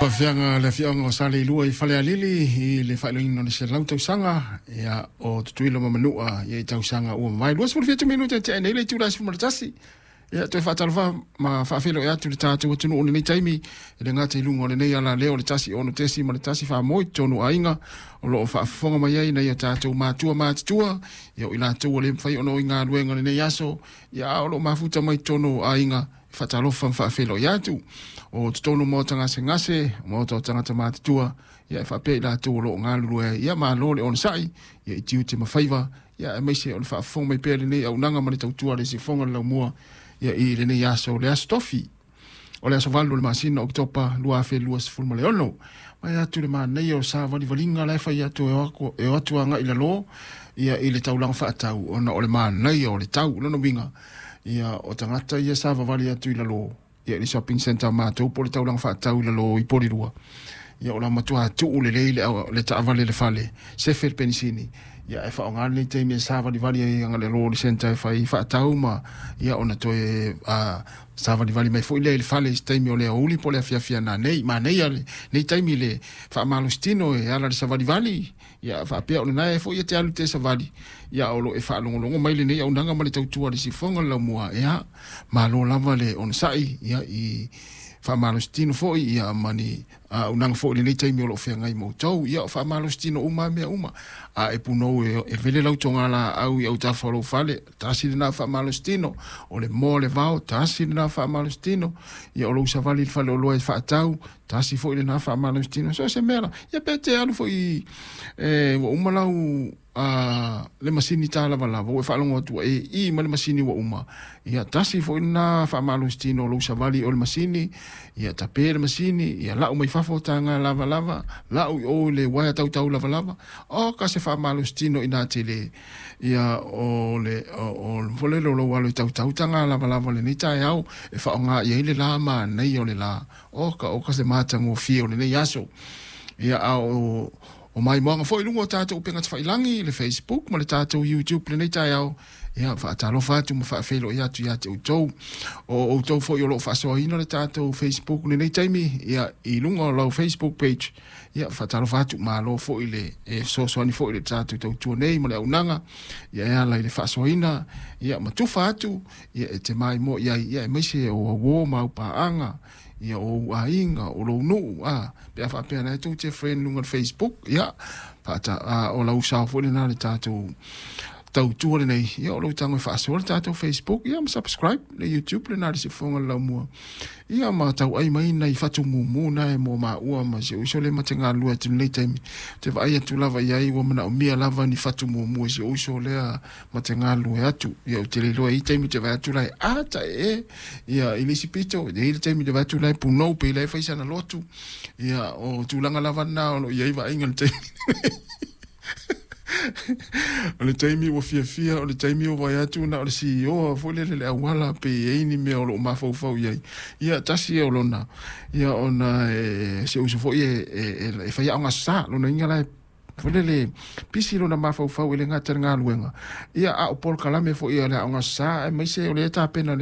Afioga le afioaga o Saleilua i Falealili i le faailogaina o le 100 tausaga ia o Tutuila ma Manua ia i tausaga ua mavae. 27 minute tea nei le itula e 11. Ia toe faatalofa ma faafeiloai atu le tatou atunuu i lenei taimi e le gata i luga o lenei alaleo o le 106.1 faamoe i totonu o aiga o lo o faafofoga mai ai nai o tatou matua matutua, ia o i latou ua le mafai ona o i galuega i lenei aso, ia a o lo o mafuta mai totonu o aiga, e faatalofa ma faafeiloai atu. O totonu o maota gasegase, maota o tagata matutua, ia e faapea i latou o lo o galulue ai, ia malo le onosai, ia i tiute ma faiva, ia aemaise o le faafofoga mai pea i lenei auaunaga ma le tautua a le Siufofoga o le Laumua, ia i lenei aso, le aso Tofi, o le aso 8 o le masina o Oketopa 2026. Mai atu le manaia o savalivaliga la e fai atu e o atu agai i lalo ia i le taulaga faatau ona o le manaia o le tau. O lona uiga, ia o tagata ia savavali atu i lalo ia i le shopping centre a matou po o le taulaga faatau i lalo i Polilua, ia o la matua tuu lelei le taavale i le fale, sefe le penisini, ia ae faaaoga lenei taimi e savalivali ai agai lalo i le centre e fai faatau ma ia ona toe savalivali mai foi lea i le fale i se taimi o le aoauli po o le afiafi a nanei. Manaia lenei taimi i le faamalositino e ala i le savalivali, ia faapea o lena e foi e te alu te savali, ia o lo o e faalogologo mai lenei auaunaga ma le tautua a le Siufofoga o le Laumua, ia malo lava le onosai ia i faamalositino foi ia ma ni auaunaga foi i lenei taimi o lo o feagai ma outou. Ia o faamalositino uma lava mea uma. A e punou e vele lau togalaau i autafa o lou fale, tasi lena faamalositino. O le moa o le vao, tasi lena faamalositino. Ia o lou savali i le faleoloa e faatau, tasi foi lena faamalositino. So o se mea la, ia pe te alu foi ua uma lau a le masini talavalava ua e faalogo atu ua e ī ma le masini ua uma, ia tasi foi lena faamalositino o lou savali o le masini, ia tape le masini, ia lau mai fafo taga lavalava, lau i o i le uaea tautau lavalava, o ka se faamalositino ina tele, ia o le o o le lou alo i tautau taga lavalava lenei taeao e faaaoga i ai le la manaia o le la, o ka se matagofie o lenei aso. Ia a o O maimoaga foi i luga o tatou upega tafailagi, le Facebook ma le tatou YouTube lenei taeao, ia faatalofa atu ma faafeiloai atu ia te outou. O outou foi o lo o faasoaina le tatou Facebook lenei taimi, ia i luga o lau Facebook page, ia faatalofa atu, malo foi le e fesoasoani foi i le tatou tautua nei ma le auaunaga, ia e ala i le faasoaina, ia ma tufa atu, ia e te maimoa i ai, ia aemaise o au uo ma au paaga, ia o ou aiga, o lou nuu, a, pe a faapea la e tou te friend luga o le Facebook, ia, faata, a, o lau sao foi lena le tatou tautua lenei, ia o lou tago e faasoa le tatou Facebook, ia ma subscribe le YouTube lena le sifofoga le laumua, ia ma tauai mai nai fatu mumu na e mo maua ma si ou uso lea ma te galulue atu i lenei taimi, te vaai atu lava i ai ua manaomia lava ni fatu mumu e si ou uso lea ma te galulue atu. Ia ou te le iloa e i ai taimi ou te vaai atu la e ata ee ia i le isi pito, e i ai le taimi ou te vaai atu la e punou pei la e fai sana lotu. Ia o tulaga lava na o lo o i ai vaaiga i le taimi. O le taimi ua fiafia, o le taimi ua vaai atu na o le CEO foi lele le auala pe i ai ni mea o lo o mafaufau i ai. Ia tasi ia o lona, ia ona e si ou uso foi e fai aoga aso Sa, lona uiga la e foi lele pisi lona mafaufau e le gata i le galuega, ia a o polokalame foi a le Aoga Aso Sa aemaise o lea e tapena.